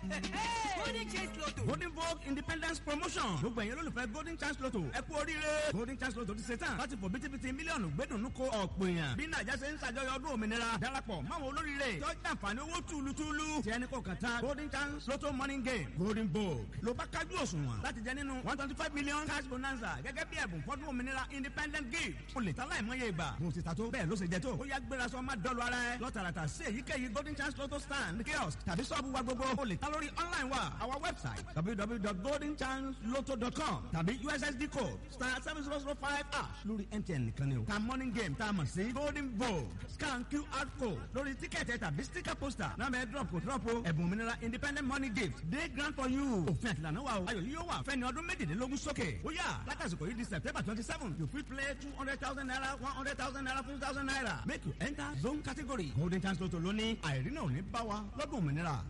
Golden Chance Lotto. Golden Vogue Independence Promotion. Gbogbo ẹ̀yin olólùfẹ́ Golden Chance Lotto. Ẹ kú oríire. Golden Chance Lotto ti ṣe tán láti fò bítíbitì mílíọ̀nù gbẹ́dùnú ko ọ̀pọ̀ èèyàn. Bí Nàìjà ṣe ń ṣàjọyọ̀ ọdún òmìnira. Darapọ̀ máwọn olóríire. Tọ́jú àǹfààní owó túlutúlu. Tí ẹni kò kàn tán. Golden Chance Lotto Morning Game. Golden Vogue. Ló bá kájú òṣùwọ̀n láti jẹ nínú 125 million cash bonanza gẹ́gẹ́ bí ẹ̀bùn fọ́dún òmìnira independent gift. O lè ta láìmọye ìgbà. Mo ti ta tó bẹ́ẹ̀ ló ṣe jẹ tó. Ó yá, gbéra sọ, má dọ́lu ara ẹ. Lọ tààràtà sí èyíkéyìí Golden Chance Lotto stand, kiosk tàbí sọ́ọ̀bù wa gbogbo. O lè ta lórí online wa, our website www.goldenchancelotto.com tàbí USSD code *7005# lórí MTN nìkan ni o. Ta morning game tá a mọ̀ sí Golden Vogue, scan QR code lórí tíkẹ̀tì tàbí sticker poster náà bẹ́ẹ̀ drop kò drop o. Ẹ̀bùn òmìnira independent money gift dey grand for you. Òfin àtìlànà wa o. Ayọ̀ yìí yóò wà fẹ́ni ọdún 18 sókè. Ó yá, látàsìkò yìí di September 27, you fit play ₦200,000, ₦100,000, ₦50,000. Make you enter zone category. Golden Chance Lotto lóní àìrí náà ò ní bá wa lọ́dún òmìnira.